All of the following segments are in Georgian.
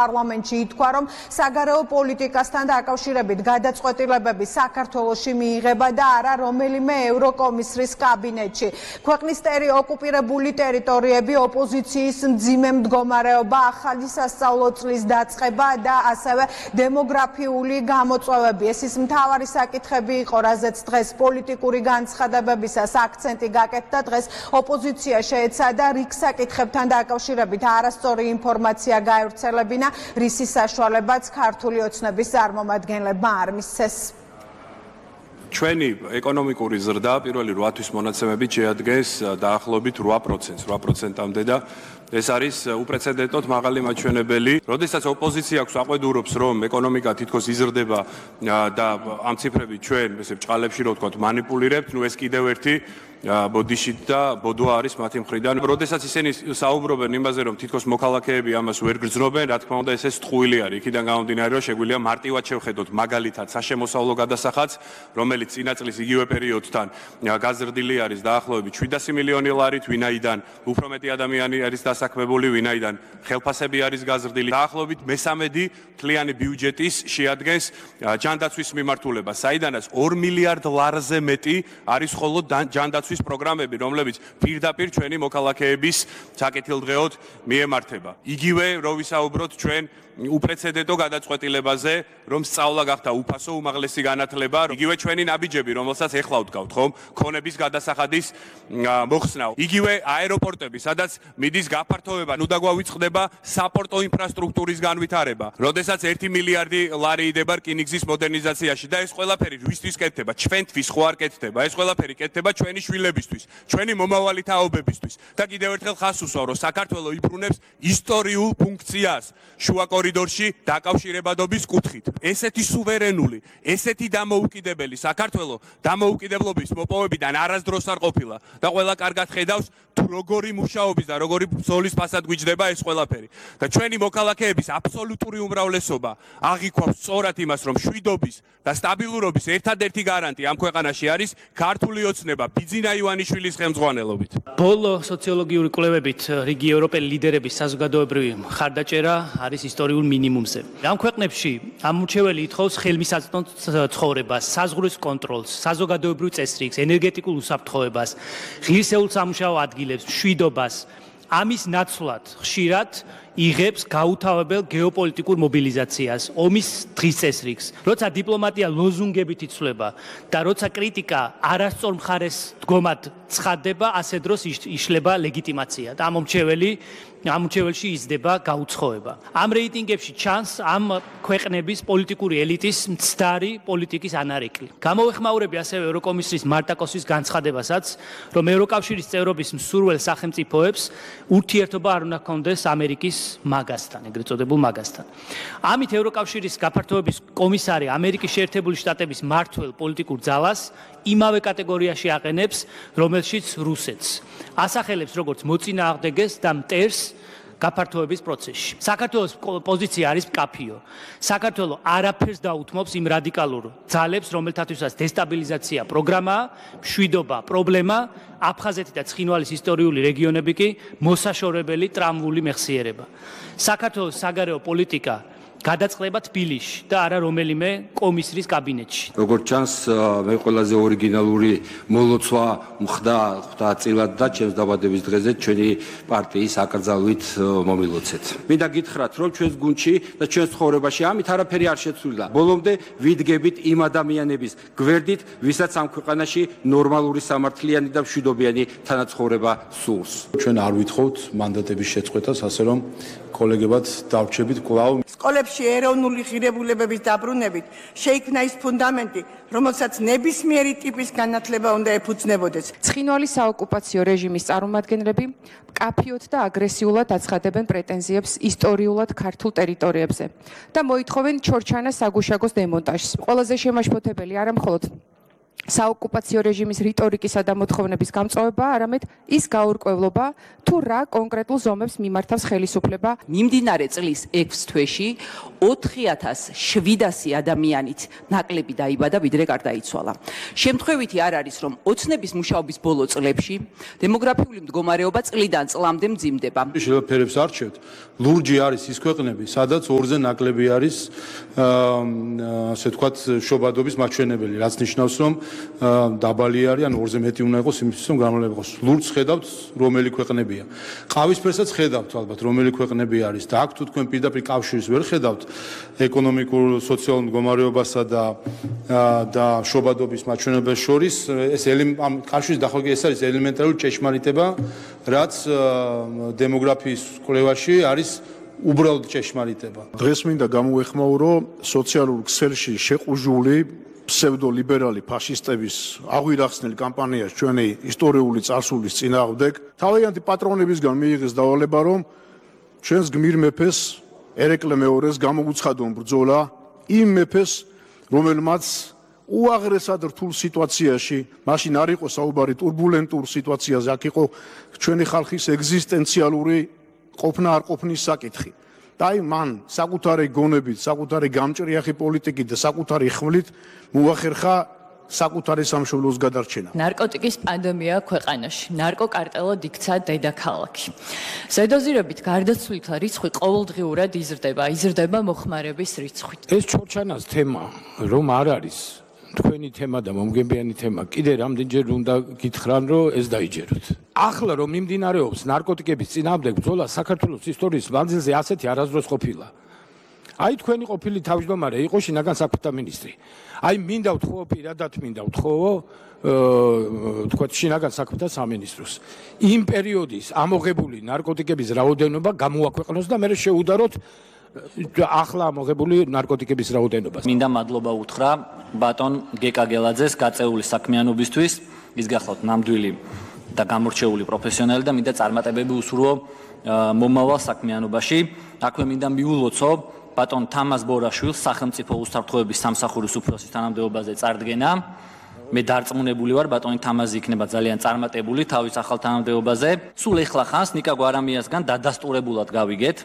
პარლამენტში ითქვა, რომ საგარეო პოლიტიკასთან დაკავშირებით გადაწყვეტილებები საქართველოში მიიღება და არა რომელიმე ევროკომისრის კაბინეტში. ქვეყნის ოკუპირებული ტერიტორიები, ოპოზიციის მძიმე მდგომარეობა, ახალი სასწავლო წლის დაწყება და ასევე დემოგრაფიული გამოწვევები. ეს ის მთავარი საკითხები იყო, რაზეც დღეს პოლიტიკური განცხადებებისას აქცენტი გაკეთდა. დღეს ოპოზიცია შეეცადა რიგ საკითხებთან დაკავშირებით არასწორი ინფორმაცია გაევრცელებინა, რისის საშუალებაც ქართული ოცნების წარმომადგენლებმა არ მისცეს. ჩვენი ეკონომიკური ზრდა პირველი 8 თვის მონაცემებით შეადგენს დაახლოებით 8%, 8%-მდე და ეს არის უპრეცედენტოდ მაღალი მაჩვენებელი. როდესაც ოპოზიცია აქვს აყვედურობს, რომ ეკონომიკა თითქოს იზრდება და ამ ციფრებით ჩვენ ესე ბჭყალებში რო ვთქვათ მანიპულირებთ, ეს კიდევ ერთი ბოდიში და ბოდვა არის მათი მხრიდან. როდესაც ისინი საუბრობენ იმაზე, რომ თითქოს მოქალაქეები ამას ვერ გრძნობენ, რა თქმა უნდა, ეს ტყუილი არის. იქიდან გამომდინარე, რომ შეგვიძლია მარტივად შევხედოთ მაგალითად საშემოსავლო გადასახადს, რომელიც წინა წლის იგივე პერიოდთან გაზრდილი არის დაახლოებით 700 მილიონი ლარით, ვინაიდან უფრო მეტი ადამიანი არის დასაქმებული, ვინაიდან ხელფასები არის გაზრდილი. დაახლოებით მესამედი მთლიანი ბიუჯეტის შეადგენს ჯანდაცვის მიმართულება, საიდანაც 2 მილიარდ ლარზე მეტი არის მხოლოდ ჯანდაცვის პროგრამები, რომლებიც პირდაპირ ჩვენი მოქალაქეების საკეთილდღეოდ მიემართება. იგივე რო ვისაუბროთ ჩვენ უპრეცედენტო გადაწყვეტილებაზე, რომ სწავლა გახდა უფასო უმაღლესი განათლება, იგივე ჩვენი ნაბიჯები, რომელსაც ეხლა ვდგავთ, ხომ, ქონების გადასახადის მოხსნა. იგივე აეროპორტები, სადაც მიდის გაფართოება, ნუ დაგვავიწყდება საპორტო ინფრასტრუქტურის განვითარება. როდესაც 1 მილიარდი ლარი იდება რკინიგზის მოდერნიზაციაში და ეს ყველაფერი ვისთვის კეთდება? ჩვენთვის ხო არ კეთდება? ეს ყველაფერი კეთდება ჩვენი შვილებისთვის, ჩვენი მომავალი თაობებისთვის. და კიდევ ერთხელ ხას უსვავ, რომ საქართველო იბრუნებს ისტორიულ ფუნქციას შუა კორიდორში დაკავშირებადობის კუთხით. ესეთი სუვერენული, ესეთი დამოუკიდებელი საქართველო დამოუკიდებლობის მოპოვებიდან არასდროს არ ყოფილა და ყველა კარგად ხედავს თუ როგორი მუშაობის და როგორი ბრძოლის ფასად გვიჯდება ეს ყველაფერი. და ჩვენი მოქალაქეების აბსოლუტური უმრავლესობა აღიქვავს სწორად იმას, რომ მშვიდობის და სტაბილურობის ერთადერთი გარანტი ამ ქვეყანაში არის ქართული ოცნება ბიძინა ივანიშვილის ხელმძღვანელობით. ბოლო სოციოლოგიური კვლევებით რიგი ევროპელი ლიდერების საზოგადოებრივი მხარდაჭერა არის ისტორიულ მინიმუმზე. ამ ქვეყნებში ამორჩეველი ითხოვს ხელმისაწვდომ ცხოვრებას, საზღვრის კონტროლს, საზოგადოებრივ წესრიგს, ენერგეტიკულ უსაფრთხოებას, ღირსეულ სამუშაო ადგილებს, მშვიდობას. ამის ნაცვლად ხშირად იღებს გაუთავებელ გეოპოლიტიკურ მობილიზაციას, ომის დღის წესრიგს. როცა დიპლომატია ლოზუნგებით იცვლება და როცა კრიტიკა არასწორ მხარეს დგომად ცხადდება, ასე დროს იშლება ლეგიტიმაცია და ამორჩეველში იზრდება გაუცხოება. ამ რეიტინგებში ჩანს ამ ქვეყნების პოლიტიკური ელიტის მცდარი პოლიტიკის ანარეკლი. გამოვეხმაურები ასევე ევროკომისრის მარტაკოსის განცხადებასაც, რომ ევროკავშირის წევრობის მსურველ სახელმწიფოებს ურთიერთობა არ უნდა ჰქონდეს ამერიკის მაგასთან, ეგრეთ წოდებულ მაგასთან. ამით ევროკავშირის გაფართოების კომისარი ამერიკის შეერთებული შტატების მმართველ პოლიტიკურ ძალას იმავე კატეგორიაში აყენებს, რომელშიც რუსეთს. ასახელებს როგორც მოწინააღმდეგეს და მტერს გაფართოების პროცესში. საქართველოს პოზიცია არის მკაფიო. საქართველო არაფერს დაუთმობს იმ რადიკალურ ძალებს, რომელთათვისაც დესტაბილიზაცია პროგრამაა, მშვიდობა პრობლემა, აფხაზეთი და ცხინვალის ისტორიული რეგიონები კი მოსაშორებელი ტრამვული მეხსიერება. საქართველოს საგარეო პოლიტიკა გადაწყდება თბილისში და არა რომელიმე კომისრის კაბინეტში. როგორც ჩანს, მე ყველაზე ორიგინალური მოლოცვა მხდა წილად და ჩემს დაბადების დღეზე ჩვენი პარტიის აკრძალვით მომილოცეთ. მინდა გითხრათ, რომ ჩვენს გუნდში და ჩვენს ცხოვრებაში ამით არაფერი არ შეცვლილა. ბოლომდე ვიდგებით იმ ადამიანების გვერდით, ვისაც ამ ქვეყანაში ნორმალური სამართლიანი და მშვიდობიანი თანაცხოვრება სურს. ჩვენ არ ვითხოვთ მანდატების შეწყვეტას, ასე რომ კოლეგებად დავრჩებით კვლავ. სკოლებში ეროვნული ღირებულებების დაბრუნებით შეიქმნა ის ფუნდამენტი, რომელსაც ნებისმიერი ტიპის განათლება უნდა ეფუძნებოდეს. ცხინვალის საოკუპაციო რეჟიმის წარმომადგენლები მკაფიოდ და აგრესიულად აცხადებენ პრეტენზიებს ისტორიულად ქართულ ტერიტორიებზე და მოითხოვენ ჩორჩანას საგუშაგოს დემონტაჟს. ყველაზე შემაშფოთებელი არა მხოლოდ საოკუპაციო რეჟიმის რიტორიკისა და მოთხოვნების გამწვავება, არამედ ის გაურკვევლობა, თუ რა კონკრეტულ ზომებს მიმართავს ხელისუფლება. მიმდინარე წლის 6 თვეში 4700 ადამიანით ნაკლები დაიბადა, ვიდრე გარდაიცვალა. შემთხვევითი არ არის, რომ ოცნების მუშაობის ბოლო წლებში დემოგრაფიული მდგომარეობა წლიდან წლამდე მძიმდება. შეიძლება ფერებს არჩევთ. ლურჯი არის ის ქვეყნები, სადაც ორზე ნაკლები არის ასე ვთქვათ შობადობის მაჩვენებელი, რაც ნიშნავს, რომ დაბალი არის, ან ორზე მეტი უნდა იყოს იმისთვის, რომ გამალება იყოს. ლურჯს ხედავთ, რომელი ქვეყნებია. ყავისფერსაც ხედავთ ალბათ, რომელი ქვეყნები არის და აქ თუ თქვენ პირდაპირ კავშირს ვერ ხედავთ ეკონომიკურ, სოციალურ მდგომარეობასა და შობადობის მაჩვენებელს შორის, ეს ამ კავშირის დახმარება ეს არის ელემენტარული ჭეშმარიტება, რაც დემოგრაფიის კვლევაში არის უბრალოდ ჭეშმარიტება. დღეს მინდა გამოეხმაურო სოციალურ ქსელში შეყუჟული ფსევდოლიბერალი ფაშისტების აღვირახსნელ კამპანიას ჩვენი ისტორიული წარსულის წინააღმდეგ. თავიანთი პატრონებისგან მიიღეს დავალება, რომ ჩვენს გმირ მეფეს ერეკლე მეორეს გამოუცხადონ ბრძოლა იმ მეფეს, რომელმაც უაღრესად რთულ სიტუაციაში, მაშინ არ იყო საუბარი турბულენტურ სიტუაციაზე, აქ იყო ჩვენი ხალხის ეგზისტენციალური ყოფნა არ ყოფნის საკითხი. და აი მან საკუთარი გონებით, საკუთარი გამჭრიახი პოლიტიკით და საკუთარი ხმლით მოახერხა საკუთარი სამშობლოს გადარჩენა. ნარკოტიკის პანდემია ქვეყანაში. ნარკოკარტელად იქცა დედაქალაქი. ზედოზირებით გარდაცვლილთა რიცხვი ყოველდღიურად იზრდება მოხმარების რიცხვით. ეს ჩორჩანას თემა რომ არ არის თქვენი თემა და მომგებიანი თემა, კიდე რამდენჯერ უნდა გითხრან, რომ ეს დაიჯეროთ. ახლა რომ მიმდინარეობს ნარკოტიკების წინააღმდეგ ბრძოლა საქართველოს ისტორიის მანძილზე ასეთი არასდროს ყოფილა. აი თქვენი ყოფილი თავმჯდომარე იყო შინაგან საქმეთა მინისტრი. აი მინდა ვთხოვო პირადად მინდა ვთხოვო თქვა შინაგან საქმეთა სამინისტროს. იმ პერიოდის ამოღებული ნარკოტიკების რაოდენობა გამოაქვეყნოს და მე შეუდაროთ ახლა ამოღებული ნარკოტიკების რაოდენობას. მინდა მადლობა უთხრა ბატონ გეკა გელაძეს გაწეული საქმიანობისთვის, ის გახლავთ ნამდვილი და გამორჩეული პროფესიონალი და მინდა წარმატებები უსურვო მომავალ საქმიანობაში. აქვე მინდა მიულოცო ბატონ თამაზ ბორაშვილს სახელმწიფო უსაფრთხოების სამსახურის უფროსის თანამდებობაზე წარდგენა. მე დარწმუნებული ვარ ბატონი თამაზი იქნება ძალიან წარმატებული თავის ახალ თანამდებობაზე. სულ ეხლა ხანს ნიკა გვარამიასგან დადასტურებულად გავიგეთ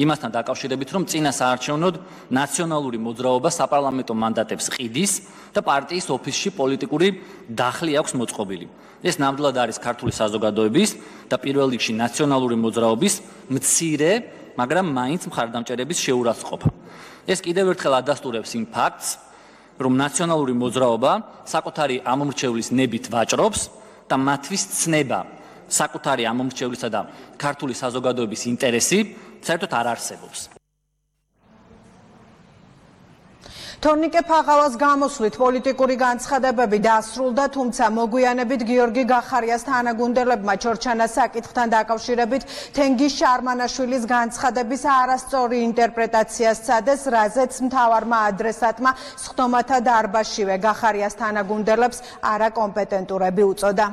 იმასთან დაკავშირებით, რომ წინა საარჩევნოდ ნაციონალური მოძრაობა საპარლამენტო მანდატებს ყიდის და პარტიის ოფისში პოლიტიკური დახლი აქვს მოწყობილი. ეს ნამდვილად არის ქართული საზოგადოების და პირველ რიგში ნაციონალური მოძრაობის მცირე, მაგრამ მაინც მხარდამჭერების შეურაცხყოფა. ეს კიდევ ერთხელ ადასტურებს იმ ფაქტს, რომ ნაციონალური მოძრაობა საკუთარი ამომრჩევლის ნებით ვაჭრობს და მათთვის ცნება საკუთარი ამომრჩევლისა და ქართული საზოგადოების ინტერესი საერთოდ არ არსებობს. თორნიკე ფაღავას გამოსვლით პოლიტიკური განცხადებები დასრულდა, თუმცა მოგვიანებით გიორგი გახარიას თანაგუნდელებმა ჩორჩანას საკითხთან დაკავშირებით თენგიზ შარმანაშვილის განცხადების არასწორი ინტერპრეტაცია სცადეს, რაზეც მთავარმა ადრესატმა სხდომათა დარბაზშივე გახარიას თანაგუნდელებს არაკომპეტენტურები უწოდა.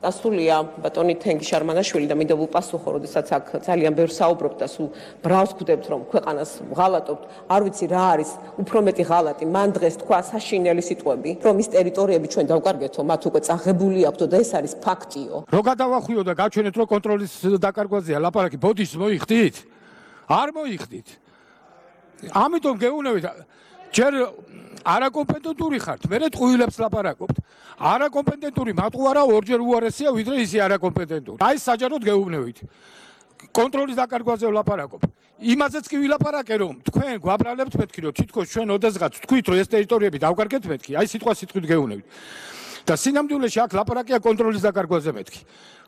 ასულია ბატონი თენგიზ შარმანაშვილი და მინდა ვუპასუხო, როდესაც აქ ძალიან ბევრ საუბრობთ და სულ ბრავს ხვდებთ, რომ ქვეყანას ვღალატობთ, არ ვიცი რა არის უფრო მეტი ღალატი. მან დღეს თქვა საშინელი სიტყვები, რომ ის ტერიტორიები ჩვენ დავკარგეთო, მათ უკვე წაღებული აქვთ და ეს არის ფაქტიო. რო გადავახვიო და გაჩვენეთ, რომ კონტროლის დაკარგვაზეა ლაპარაკი, ბოდიშს მოიხდით? არ მოიხდით. ამიტომ გეუბნებით, ჯერ არაკომპეტენტური ხართ, მერე ტყუილებს ლაპარაკობთ. არაკომპეტენტური მატყუარა ორჯერ უარესია, ვიდრე ისი არაკომპეტენტური. აი საჯაროდ გეუბნებით. კონტროლის დაკარგვაზე ვლაპარაკობ. იმაზეც კი ვილაპარაკე, რომ თქვენ გვაბრალებთ მეთქი, რომ თითქოს ჩვენ ოდესღაც თქვით, რომ ეს ტერიტორიები დავკარგეთ მეთქი. აი სიტყვა სიტყვით გეუბნებით. და სინამდვილეში აქ ლაპარაკია კონტროლის დაკარგვაზე მეთქი.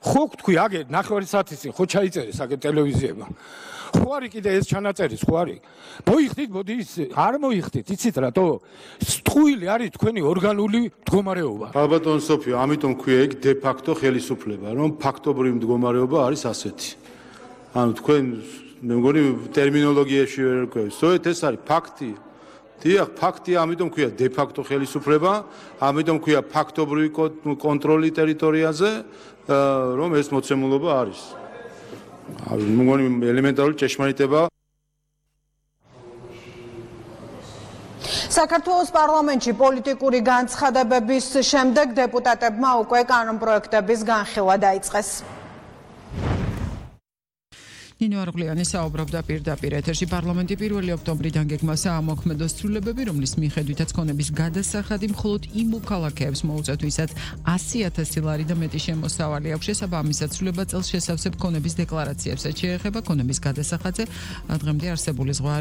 ხო თქვი, აგე ნახევარი საათის წინ ხო ჩაიწერეს აგე ტელევიზიებმა. ხო არის კიდე ეს ჩანაწერის, ხო არის? მოიხდით, მოდი ის არ მოიხდით, იცით რატო? ტყუილი არის თქვენი ორგანული მდგომარეობა. ალბათონ სოფიო, ამიტომ ქვია იქ დე ფაქტო ხელისუფლება, რომ ფაქტობრივი მდგომარეობა არის ასეთი. ანუ თქვენ მე მგონი ტერმინოლოგიაში ვერ ვქვევ. სწორედ ეს არის ფაქტი. დიახ, ფაქტია, ამიტომ ქვია დე ფაქტო ხელისუფლება, ამიტომ ქვია ფაქტობრივი კონტროლი ტერიტორიაზე, რომ ეს მოცემულობა არის. მე მგონი ელემენტარული ჭეშმარიტება. საქართველოს პარლამენტში პოლიტიკური განცხადებების შემდეგ დეპუტატებმა უკვე კანონპროექტების განხილვა დაიწყეს. ნინო არღლიანი საუბრობდა პირდაპირ ეთერში პარლამენტი 1 ოქტომბრიდან გეგმასა ამოქმედოს ცვლილებები, რომლის მიხედვითაც ქონების გადასახადი მხოლოდ იმ მოქალაქეებს მოუწევთ, ვისაც 100,000 ლარი და მეტი შემოსავალი აქვს. შესაბამისად, ცვლილება წელს შესავსებ ქონების დეკლარაციებსაც შეეხება. ქონების გადასახადზე დღემდე არსებული ზღვა